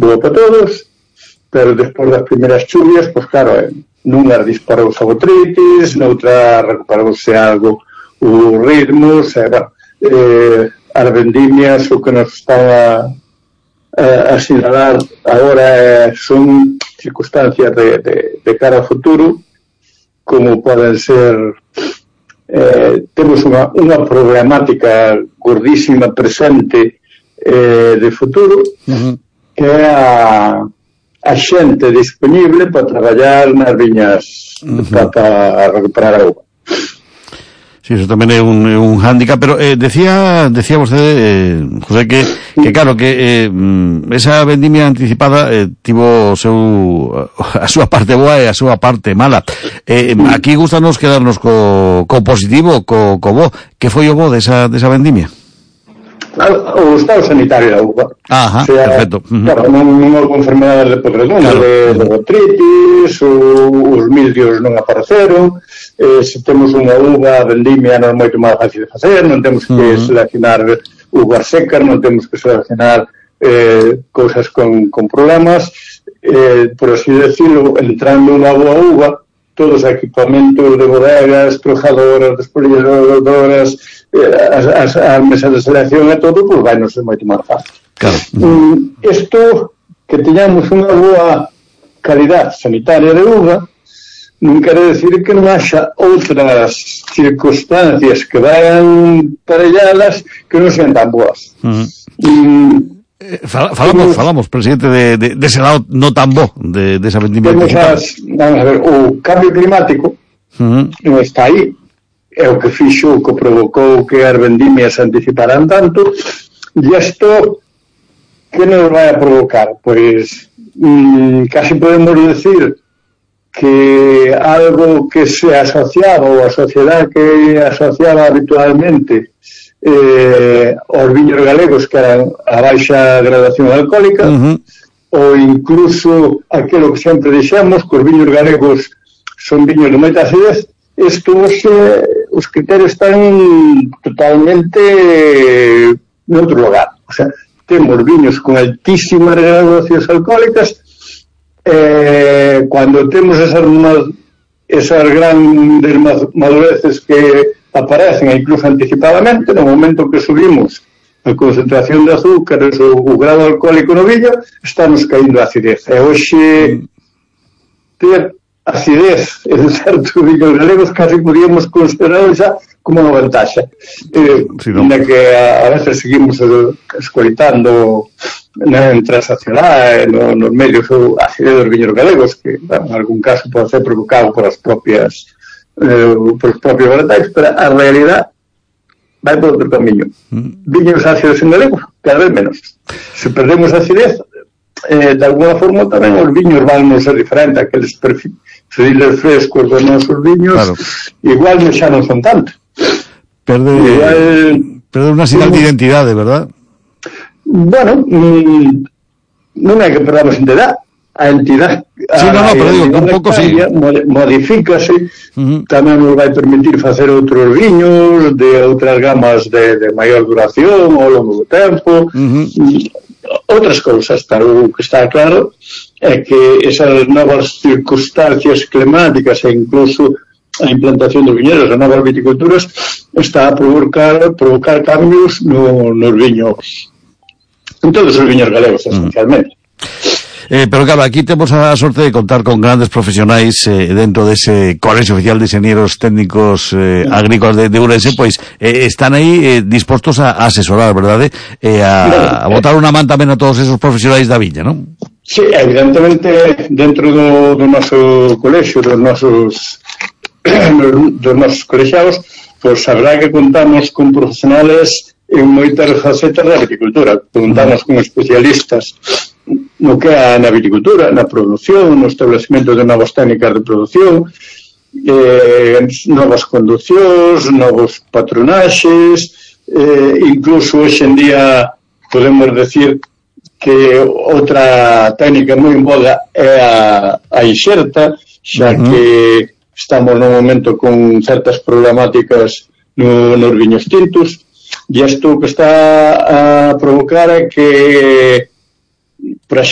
boa para todos, pero despois das primeiras chuvias, pois claro, nunha disparouse a botritis, noutra recuperouse algo os ritmos, as vendimias o que nos están a sinalar agora son circunstancias de cara ao futuro, como poden ser temos unha problemática gordísima presente de futuro, que é a xente disponible para traballar nas viñas para recuperar a uva. Sí, eso tamén é un hándicap, pero decía vostede, José, que claro, que esa vendimia anticipada tivo a súa parte boa e a súa parte mala. Aquí gustanos quedarnos co positivo, co bo. Que foi o bo desa vendimia? O estado sanitario da uva. Ajá, perfecto. Claro, non houve enfermedades de podredumbre, claro, de botritis, os mildios non apareceron, se temos unha uva vendimia non é moito máis fácil de facer, non temos que seleccionar uvas secas, non temos que seleccionar cousas con problemas, por así decirlo, entrando unha boa uva, todos os equipamentos de bodegas, trojadoras, despolilladoras, as mesas de selección e todo, pois vai non ser moito máis fácil. Claro. Isto, que teñamos unha boa calidad sanitaria de uva, non quere decir que non haxa outras circunstancias que vayan parelladas que non sean tan boas. Falamos, presidente, de ese lado no tan bo de esa vendimia. Vamos a ver, o cambio climático non está aí, é o que fixo, o que provocou que as vendimias se anticiparan tanto, e isto que nos vai a provocar? Pois casi podemos decir que algo que se asociaba, ou a sociedade que asociaba habitualmente aos viños galegos, que eran a baixa gradación alcohólica, ou incluso aquilo que sempre dixemos, que os viños galegos son viños de moita acidez. Os criterios están totalmente noutro lugar. O sea, temos viños con altísimas graduacións alcohólicas, cando temos esas grandes madureces que aparecen incluso anticipadamente, no momento que subimos a concentración de azúcares ou o grado alcohólico no viño, estamos caindo a acidez. E hoxe ter acidez en certos viños galegos casi podíamos considerarlo xa como unha vantaxe. Na que a veces seguimos escoitando entre a sociedade, nos medios, a acidez dos viños galegos, que en algún caso pode ser provocado por os propios varietais, pero a realidade vai por outro camiño. Viños ácidos en galego, cada vez menos. Se perdemos acidez, de alguna forma tamén os viños van non ser diferentes, aqueles perfiles frescos dos nosos viños, claro, igual xa non son tanto. Perde unha sinal de identidade, verdad? Bueno, non é que perdamos identidade. A entidade, sí, pero digo, un pouco sí, modifícase, tamén nos vai permitir facer outros viños de outras gamas de maior duración ao longo do tempo, outras cousas, pero o que está claro é que esas novas circunstancias climáticas e incluso a implantación dos viñedos, as novas viticulturas, está a provocar cambios nos viños, en todos os viños galegos, esencialmente. Pero claro, aquí temos a sorte de contar con grandes profesionais dentro dese Colexio Oficial de Inxenieros Técnicos Agrícolas de Ourense, pois están aí dispostos a asesorar, verdade? A botar unha man tamén a todos esos profesionais da viña, non? Sí, evidentemente, dentro do noso colexio, dos nosos colexiados, pois sabrá que contamos con profesionales en moitas facetas da viticultura. Contamos con especialistas no que é na viticultura, na produción, no establecimento de novas técnicas de produción, novas conducións, novos patronaxes, incluso hoxe en día podemos decir que outra técnica moi en boga é a inxerta, xa que estamos no momento con certas problemáticas nos viños tintos, e isto que está a provocar é que